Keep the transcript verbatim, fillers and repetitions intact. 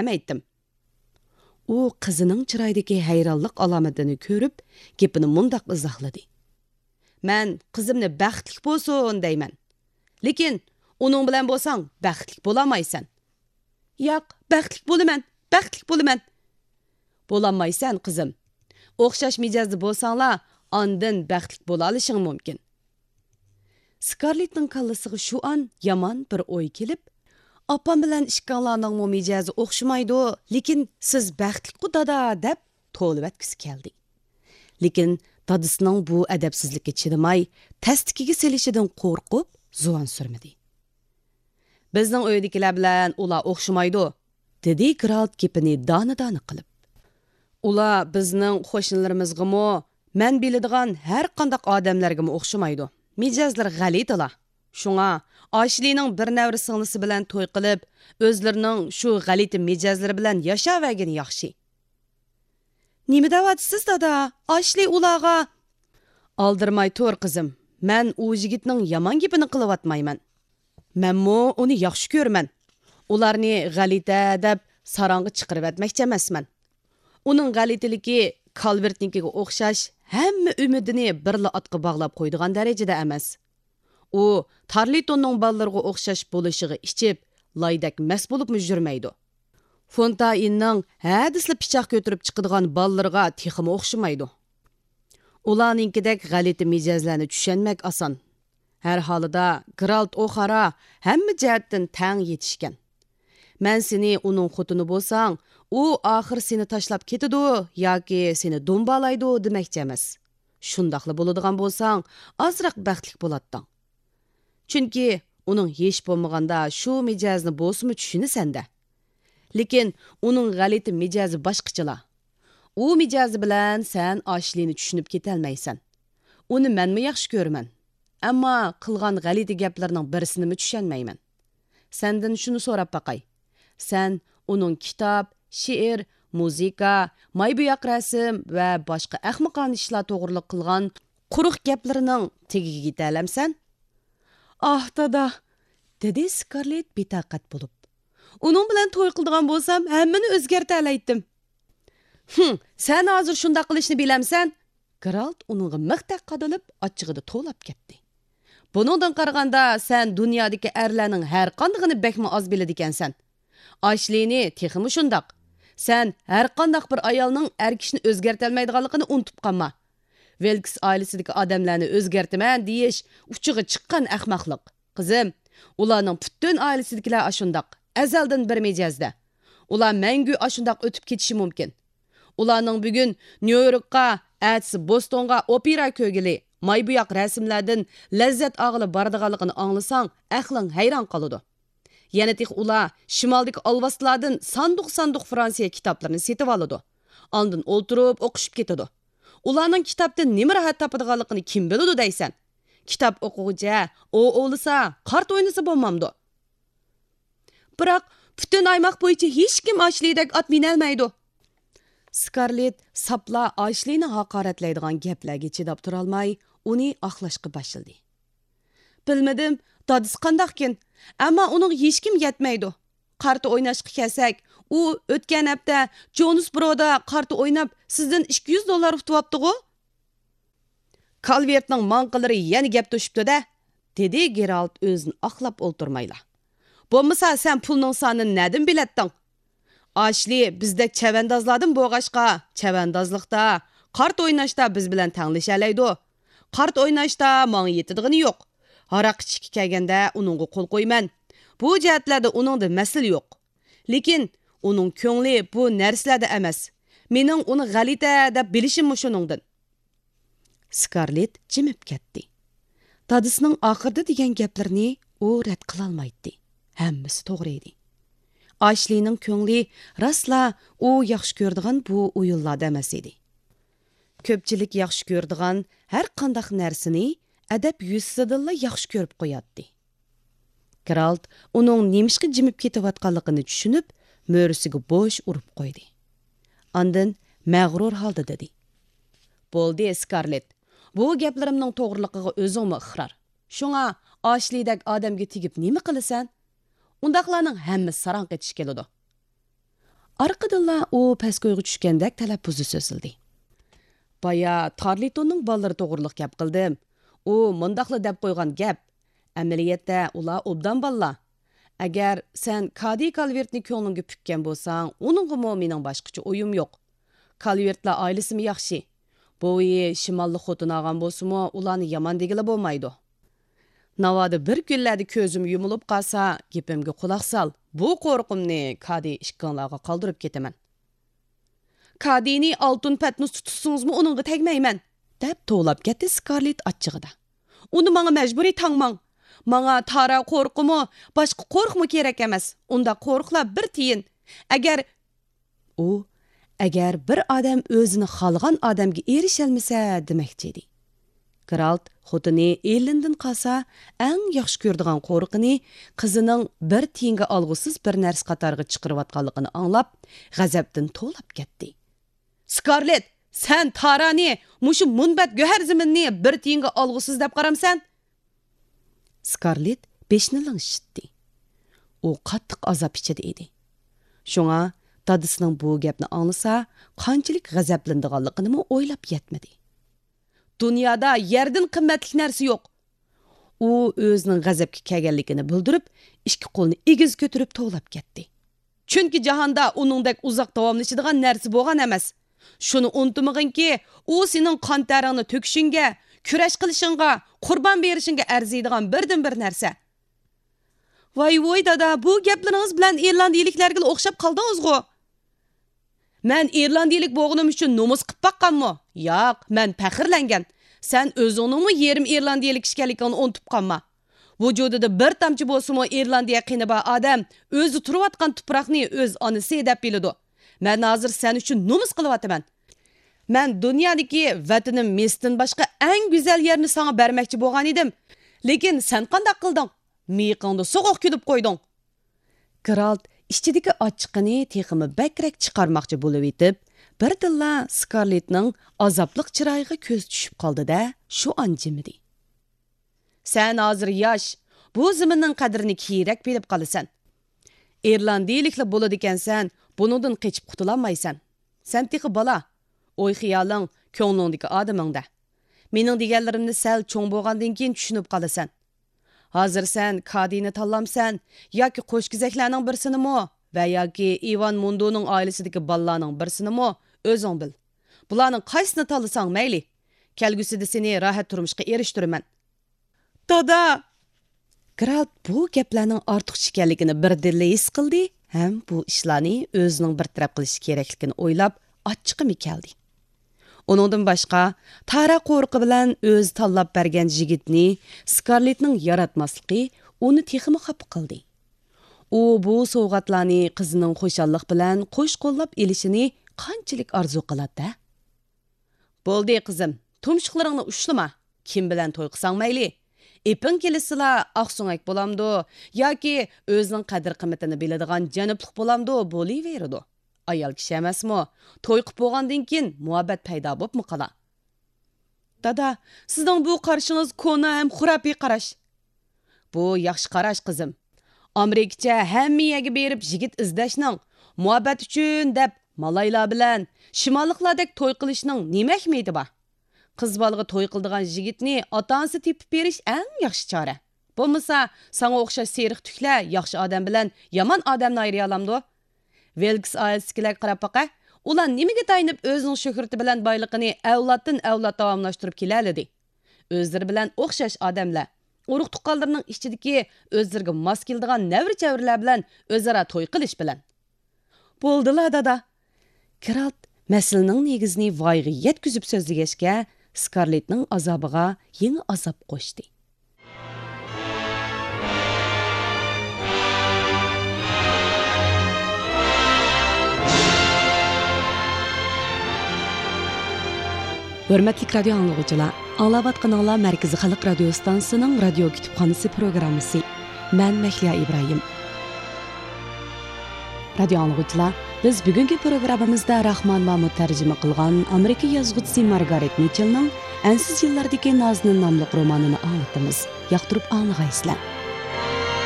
ئەمەيتتىم. ئۇ قىزىنىڭ چىرايىدىكى ھەيرانلىق ئالامىتىنى كۆرۈپ، گېپىنى مۇنداق ئىزاھلىدى. مەن قىزىمنى بەختلىك بولسۇن دەيمەن. لېكىن ئۇنىڭ بىلەن بولساڭ بەختلىك بولالمايسەن. ياق، بەختلىك بولىمەن، بەختلىك بولىمەن. بولالمايسەن، قىزىم. ئوخشاش مىجەزدە بولساڭلار، ئاندىن بەختلىك بولالىشىڭ مۇمكىن. سكارلېتنىڭ كاللىسىغا شۇ ئان يامان بىر ئوي كېلىپ، ئاپام بىلەن ئىككىڭلارنىڭمۇ مىجەزى ئوخشىمايدۇ، لېكىن سىز بەختلىكقۇ دادا دەپ توۋلىۋەتكۈسى كەلدى. لېكىن دادىسىنىڭ بۇ ئەدەپسىزلىككە چىدىماي، تەستىكىگە سېلىشىدىن قورقۇپ زۇۋان سۈرمىدى. بىزنىڭ ئۆيدىكىلەر بىلەن ئۇلار ئوخشىمايدۇ، دېدى گېرالت گېپىنى دانە-دانە قىلىپ. ئۇلار بىزنىڭ قوشنىلىرىمىزغىمۇ، مەن بىلىدىغان ھەر قانداق ئادەملەرگىمۇ ئوخشىمايدۇ. مىجەزلىرى غەلىتىلا. شۇڭا ئاشلىنىڭ بىر نەۋرە سىڭلىسى بىلەن توي قىلىپ، ئۆزلىرىنىڭ شۇ غەلىتە مىجەزلىرى بىلەن ياشاۋەرگىنى ياخشى. نېمە دەۋاتىسىز، دادا؟ ئاشلى ئۇلارغا. ئالدىرىماي تۇر، قىزىم. مەن ئۇ يىگىتنىڭ يامان گېپىنى قىلىۋاتمايمەن. مەنمۇ ئۇنى ياخشى كۆرىمەن. ئۇلارنى غەلىتە دەپ ساراڭغا چىقىرىۋەتمەكچى ئەمەسمەن. ئۇنىڭ غەلىتىلىكى كالۋېرتنىڭكىگە ئوخشاش ھەممە ئۈمىدىنى بىرلا ئاتقا باغلاپ قويىدىغان دەرىجىدە ئەمەس. ئۇ تارلىتوننىڭ بالىلىرىغا ئوخشاش بولۇشىغا ئىچىپ، لايدەك مەست بولۇپمۇ يۈرمەيدۇ. فونتايننىڭ ھەدىسىلا پىچاق كۆتۈرۈپ چىقىدىغان بالىلىرىغا تېخىمۇ ئوخشىمايدۇ. ئۇلارنىڭكىدەك غەلىتە مىجەزلەرنى چۈشەنمەك ئاسان. ھەر ھالىدا، گېرالت ئوخارا ھەممە جەھەتتىن تەڭ يېتىشكەن. مەن سېنى ئۇنىڭ خوتۇنى بولساڭ، ئۇ ئاخىر سېنى تاشلاپ كېتىدۇ ياكى سېنى دومبالايدۇ دېمەكچى ئەمەس. شۇنداقلا بولىدىغان بولساڭ، ئازراق بەختلىك بولاتتىڭ. چۈنكى ئۇنىڭ ھېچ بولمىغاندا شۇ مىجەزنى بولسىمۇ چۈشىنىسەن-دە. لېكىن ئۇنىڭ غەلىتە مىجەزى باشقىچىلا. ئۇ مىجەزى بىلەن سەن ئاشلىنى چۈشىنىپ كېتەلمەيسەن. ئۇنى مەنمۇ ياخشى كۆرىمەن. ئەمما قىلغان غەلىتە گەپلىرىنىڭ بىرسىنىمۇ چۈشەنمەيمەن. سەندىن شۇنى سوراپ باقاي. سەن ئۇنىڭ كىتاب، شېئىر، مۇزىكا، ماي بوياق رەسىم ۋە باشقا ئەخمىقانە ئىشلار توغرىلىق قىلغان قۇرۇق گەپلىرىنىڭ تېگىگە يېتەلەمسەن؟ ئاھ، دادا، دېدى سكارلېت بىتاقەت بولۇپ. ئۇنىڭ بىلەن توي قىلىدىغان بولسام، ھەممىنى ئۆزگەرتەلەيتتىم. ھىم، سەن ھازىر شۇنداق قىلىشنى بىلەمسەن؟ گېرالت ئۇنىڭغا مىختەك قادىلىپ، ئاچچىقىدا توۋلاپ كەتتى. بۇنىڭدىن قارىغاندا، سەن دۇنيادىكى ئەرلەرنىڭ ھەرقاندىقىنى بەكمۇ ئاز بىلىدىكەنسەن. ئاشلىنى تېخىمۇ شۇنداق. سەن ھەرقانداق بىر ئايالنىڭ ئەر كىشىنى ئۆزگەرتەلمەيدىغانلىقىنى ئۇنتۇپ قالما. ۋىلكس ئائىلىسىدىكى ئادەملەرنى ئۆزگەرتىمەن دېيىش ئۇچىغا چىققان ئەخمەقلىق. قىزىم، ئۇلارنىڭ پۈتۈن ئائىلىسىدىكىلەر ئاشۇنداق، ئەزەلدىن بىر مىجەزدە. ئۇلار مەڭگۈ ئاشۇنداق ئۆتۈپ كېتىشى مۇمكىن. ئۇلارنىڭ بۈگۈن نيۇ يوركقا، ئەتىسى بوستونغا ئوپېرا كۆرگىلى، ماي بوياق رەسىملەردىن لەززەت ئالغىلى بارىدىغانلىقىنى ئاڭلىساڭ، ئەقلىڭ ھەيران قالىدۇ. يەنە تېخى ئۇلار شىمالدىكى ئالۋاستىلاردىن ساندۇق-ساندۇق فرانسىيە كىتابلىرىنى سېتىۋالىدۇ. ئاندىن ئولتۇرۇپ ئوقۇشۇپ كېتىدۇ. ئۇلارنىڭ كىتابتىن نېمە راھەت تاپىدىغانلىقىنى كىم بىلىدۇ دەيسەن؟ كىتاب ئوقۇغۇچە ئوۋ ئوۋلىسا، قارت ئوينىسا بولمامدۇ؟ بىراق، پۈتۈن ئايماق بويىچە ھېچكىم ئاشلىدەك ئات مىنەلمەيدۇ. سكارلېت ساپلا ئاشلىنى ھاقارەتلەيدىغان گەپلەرگە چىداپ تۇرالماي، ئۇنى ئاقلاشقا باشلىدى. بىلمىدىم، دادىسى قانداقكىن، ئەمما ئۇنىڭغا ھېچكىم يەتمەيدۇ. قارتا ئويناشقا كەلسەك، ئۇ ئۆتكەن ھەپتە جونسبرودا قارتا ئويناپ، سىزدىن ئىككى يۈز دوللار ئۇتۇۋاپتىغۇ؟ كالۋېرتنىڭ ماڭقىلىرى يەنە گەپ توشۇپتۇ-دە، دېدى گېرالت ئۆزىنى ئاقلاپ ئولتۇرمايلا. بولمىسا سەن پۇلنىڭ سانىنى نەدىن بىلەتتىڭ؟ ئاشلى بىزدەك چەۋەندازلاردىن بولغاچقا، چەۋەندازلىقتا، قارت ئويناشتا بىز بىلەن تەڭلىشەلەيدۇ. قارت ئويناشتا ماڭا يېتىدىغىنى يوق. ھاراق ئىچكى كەلگەندە ئۇنىڭغا قول قويىمەن. بۇ جەھەتلەردە ئۇنىڭدا مەسىلە يوق. لېكىن ئۇنىڭ كۆڭلى بۇ نەرسىلەردە ئەمەس. مېنىڭ ئۇنى غەلىتە دەپ بىلىشىممۇ شۇنىڭدىن. سكارلېت جىمىپ كەتتى. دادىسىنىڭ ئاخىرىدا دېگەن گەپلىرىنى ئۇ رەت قىلالمايتتى. ھەممىسى توغرا ئىدى. ئاشلىنىڭ كۆڭلى راستلا ئۇ ياخشى كۆرىدىغان بۇ ئويۇنلاردا ئەمەس ئىدى. كۆپچىلىك ياخشى كۆرىدىغان ھەر قانداق نەرسىنى ئەدەپ يۈزىسىدىنلا ياخشى كۆرۈپ قوياتتى. گېرالت ئۇنىڭ نېمىشقا جىمىپ كېتىۋاتقانلىقىنى چۈشىنىپ، مۈرىسىگە بوش ئۇرۇپ قويدى. ئاندىن مەغرۇر ھالدا دېدى: بولدى، سكارلېت، بۇ گەپلىرىمنىڭ توغرىلىقىغا ئۆزۈڭمۇ ئىقرار. شۇڭا ئاشلىدەك ئادەمگە تېگىپ نېمە قىلىسەن؟ ئۇنداقلارنىڭ ھەممىسى ساراڭ قېتىش كېلىدۇ. ئارقىدىنلا ئۇ پەسكويغا چۈشكەندەك تەلەپپۇزدا سۆزلىدى. بايا تارلىتوننىڭ بالىلىرى توغرىلىق گەپ قىلدىم. ئۇ مۇنداقلا دەپ قويغان گەپ. ئەمەلىيەتتە ئۇلار ئوبدان بالىلار. ئەگەر سەن كادى كالۋېرتنى كۆڭلۈڭگە پۈككەن بولساڭ، ئۇنىڭغىمۇ مېنىڭ باشقىچە ئويۇم يوق. كالۋېرتلار ئائىلىسىمۇ ياخشى. بوۋىيى شىماللىق خوتۇن ئالغان بولسىمۇ، ئۇلارنى يامان دېگىلى بولمايدۇ. ناۋادا بىر كۈنلەردە كۆزۈم يۇمۇلۇپ قالسا، گېپىمگە قۇلاق سال. بۇ قورقۇمنى كادى ئىككىڭلارغا قالدۇرۇپ كېتىمەن. كادىنى ئالتۇن پەتنۇس تۇتسىڭىزمۇ ئۇنىڭغا تەگمەيمەن، دەپ توۋلاپ كەتتى سكارلېت ئاچچىقىدا. ئۇنى ماڭا مەجبۇرىي تاڭماڭ. ماڭا تارا قورۇقىمۇ، باشقا قورۇقمۇ كېرەك ئەمەس. ئۇنداق قورۇقلار بىر تىيىن. ئەگەر ئۇ، ئەگەر بىر ئادەم ئۆزىنى خالىغان ئادەمگە ئېرىشەلمىسە دېمەكچى ئىدى. گېرالت خوتۇنى ئېللىندىن قالسا ئەڭ ياخشى كۆرىدىغان قورۇقىنى قىزىنىڭ بىر تىيىنگە ئالغۇسىز بىر نەرسە قاتارىغا چىقىرىۋاتقانلىقىنى ئاڭلاپ، غەزەپتىن توۋلاپ كەتتى. سكارلېت، سەن تارانى، مۇشۇ مۇنبەت گۆھەر زېمىننى بىر تىيىنگە ئالغۇسىز دەپ قارامسەن؟ سكارلېت بېشىنى لىڭشىتتى. ئۇ قاتتىق ئازاب ئىچىدە ئىدى. شۇڭا دادىسىنىڭ بۇ گەپنى ئاڭلىسا، قانچىلىك غەزەپلىنىدىغانلىقىنىمۇ ئويلاپ يەتمىدى. دۇنيادا يەردىن قىممەتلىك نەرسە يوق. ئۇ ئۆزىنىڭ غەزەپكە كەلگەنلىكىنى بىلدۈرۈپ، ئىككى قولىنى ئېگىز كۆتۈرۈپ توۋلاپ كەتتى. چۈنكى جاھاندا ئۇنىڭدەك ئۇزاق داۋاملىشىدىغان نەرسە بولغان ئەمەس. شۇنى ئۇنتۇمىغىنكى، ئۇ سېنىڭ قان تەرىڭنى تۆكۈشۈڭگە، كۈرەش قىلىشىڭغا، قۇربان بېرىشىڭگە ئەرزىيدىغان بىردىنبىر نەرسە. ۋاي ۋوي دادا، بۇ گەپلىرىڭىز بىلەن ئىرلاندىيىلىكلەرگىلا ئوخشاپ قالدىڭىزغۇ. مەن ئىرلاندىيىلىك بولغىنىم ئۈچۈن نومۇس قىپ باققانمۇ؟ ياق، مەن پەخىرلەنگەن. سەن ئۆزۈڭنىڭمۇ يېرىم ئىرلاندىيىلىك ئىكەنلىكىڭنى ئۇنتۇپ قالما. ۋۇجۇدىدا بىر تامچە بولسىمۇ ئىرلاندىيە قېنى بار ئادەم ئۆزى تۇرۇۋاتقان تۇپراقنى ئۆز ئانىسى دەپ بىلىدۇ. مەن ھازىر سەن ئۈچۈن نومۇس قىلىۋاتىمەن. مەن دۇنيادىكى ۋەتىنىم مىستىن باشقا ئەڭ گۈزەل يەرنى ساڭا بەرمەكچى بولغان ئىدىم. لېكىن سەن قانداق قىلدىڭ؟ مىيىقىڭدا سوغۇق كۈلۈپ قويدۇڭ. گېرالت ئىچىدىكى ئاچچىقىنى تېخىمۇ بەكرەك چىقارماقچى بولۇۋېتىپ، بىردىنلا سكارلېتنىڭ ئازابلىق چىرايىغا كۆزى چۈشۈپ قالدى-دە، شۇ ئان جىمىدى. سەن ھازىر ياش، بۇ زېمىننىڭ قەدرىنى كېيىنرەك بىلىپ قالىسەن. ئىرلاندىيىلىكلا بولىدىكەنسەن، بۇنىڭدىن قېچىپ قۇتۇلالمايسەن. سەن تېخى بالا. ئوي-خىيالىڭ كۆڭلۈڭدىكى ئادىمىڭدە. مېنىڭ دېگەنلىرىمنى سەل چوڭ بولغاندىن كېيىن چۈشىنىپ قالىسەن. ھازىر سەن كادىنى تاللامسەن ياكى قوشكېزەكلەرنىڭ بىرسىنىمۇ ۋە ياكى ئىۋان مۇندۇنىڭ ئائىلىسىدىكى بالىلارنىڭ بىرسىنىمۇ، ئۆزۈڭ بىل. بۇلارنىڭ قايسىسىنى تاللىساڭ مەيلى. كەلگۈسىدە سېنى راھەت تۇرمۇشقا ئېرىشتۈرىمەن. دادا! گېرالت بۇ گەپلەرنىڭ ئارتۇقچە ئىكەنلىكىنى بىردىنلا ھېس قىلدى ھەم بۇ ئىشلارنى ئۆزىنىڭ بىر تەرەپ قىلىشى كېرەكلىكىنى ئويلاپ، ئاچچىقىمۇ كەلدى. ئۇنىڭدىن باشقا، تارا قورۇقى بىلەن ئۆزى تاللاپ بەرگەن يىگىتنى سكارلېتنىڭ ياراتماسلىقى ئۇنى تېخىمۇ خاپا قىلدى. ئۇ بۇ سوۋغاتلارنى قىزىنىڭ خۇشاللىق بىلەن قوش قوللاپ ئېلىشىنى قانچىلىك ئارزۇ قىلاتتى؟ بولدى، قىزىم، تۇمشۇقلىرىڭنى ئۇشلىما. كىم بىلەن توي قىلساڭ مەيلى. ئېپىڭ كېلىشسىلا، ئاقسۆڭەك بولامدۇ ياكى ئۆزىنىڭ قەدىر-قىممىتىنى بىلىدىغان جەنۇبلۇق بولامدۇ، بولۇۋېرىدۇ. ئايال كىشى ئەمەسمۇ؟ توي قىپ بولغاندىن كېيىن مۇھەببەت پەيدا بوپمۇ قالا. دادا، سىزنىڭ بۇ قارىشىڭىز كونا ھەم خۇراپىي قاراش. بۇ ياخشى قاراش، قىزىم. ئامېرىكىچە ھەممە يەرگە بېرىپ يىگىت ئىزدەشنىڭ، مۇھەببەت ئۈچۈن دەپ مالايلار بىلەن شىماللىقلاردەك توي قىلىشنىڭ نېمە ئەھمىيىتى بار؟ قىز بالىغا توي قىلىدىغان يىگىتنى ئاتا-ئانىسى تېپىپ بېرىش ئەڭ ياخشى چارە. بولمىسا، ساڭا ئوخشاش سېرىق تۈكلەر ياخشى ئادەم بىلەن يامان ئادەمنى ئايرىيالامدۇ؟ ۋىلكس ئائىلىسىدىكىلەرگە قاراپ باقە. ئۇلار نېمىگە تايىنىپ ئۆزىنىڭ شۆھرىتى بىلەن بايلىقىنى ئەۋلادتىن ئەۋلاد داۋاملاشتۇرۇپ كېلەلىدى؟ ئۆزلىرى بىلەن ئوخشاش ئادەملەر، ئۇرۇق-تۇغقانلىرىنىڭ ئىچىدىكى ئۆزلىرىگە ماس كېلىدىغان نەۋرە-چەۋرىلەر بىلەن ئۆزئارا توي قىلىش بىلەن. بولدىلا، دادا. گېرالت مەسىلىنىڭ نېگىزىنى ۋايىغا يەتكۈزۈپ سۆزلىگەچكە، سكارلېتنىڭ ئازابىغا يېڭى ئازاب قوشتى. ھۆرمەتلىك رادىيو ئاڭلىغۇچىلار، ئاڭلاۋاتقىنىڭلار مەركىزىي خەلق رادىيو ئىستانسىسىنىڭ رادىيو كۇتۇپخانىسى پروگراممىسى. مەن مەھلىيا ئىبراھىم. رادىيو ئاڭلىغۇچىلار، بىز بۈگۈنكى پروگراممىمىزدا راخمان مامۇت تەرجىمە قىلغان ئامېرىكا يازغۇچىسى مارگارېت مىچېلنىڭ ئەنسىز يىللاردىكى نازنىن ناملىق رومانىنى ئاڭلىتىمىز. ياقتۇرۇپ ئاڭلىغايسىلەر.